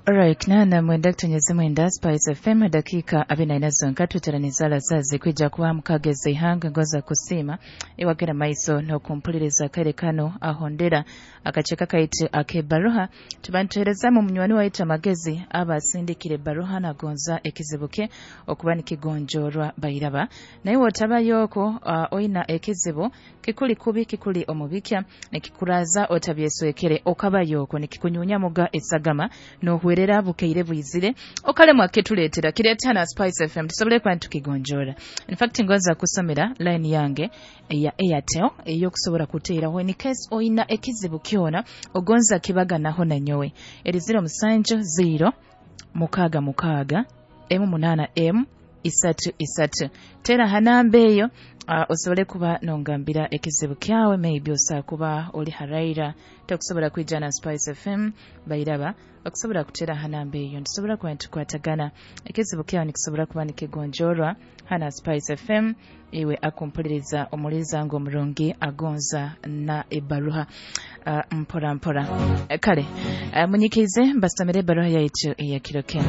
Alright, 89.9 Spice FM, dakika 44 zonka tuteraniza lazazi kwija kuba mukageza ihanga. Ngoza kusiima iwagera maiso n'okumpuliriza kaire kano ahondera akaceka kaitu ak'ebaruha tuba nituherezamu munywani waitu amagezi aba asindikire ebaruha nagonza ekizibu kye okuba nikigonjorwa. Bairaba naye wotabayo okwo oina ekizibu kikuli kubi, kikuli omubikya, nikikuraza otabyeswekere, okabayo okwo nikikunyunyamuga esagama nohwerera bukeire bwizire okalemwa kituleetera, kireeta na Spice FM tusobole kuba nitukigonjora. In fact, ngonza kusomera line yange eya Airtel eyokusobora kuteeraho in case oina ekizibu kyona ogonza kibaganaho nanyowe. Eri 070 66 M8 M 3 3. Tera ha namba eyo, osobole kuba nongambira ekizibu kyawe. Maybe osobola kuba oli haraira, tokusobola kwija na Spice FM. Bairaba okusobola kutera ha namba eyo, nitusobola kuba nitukwatagana, ekizibu kyawe nikisobola kuba nikigonjorwa hana Spice FM. Iwe akumpuliriza, omuliza ngo omurungi agonza na ebaruha, mpora mpora. Kale, munyikize mbasomere ebaruha yaitu eyakiro kinu.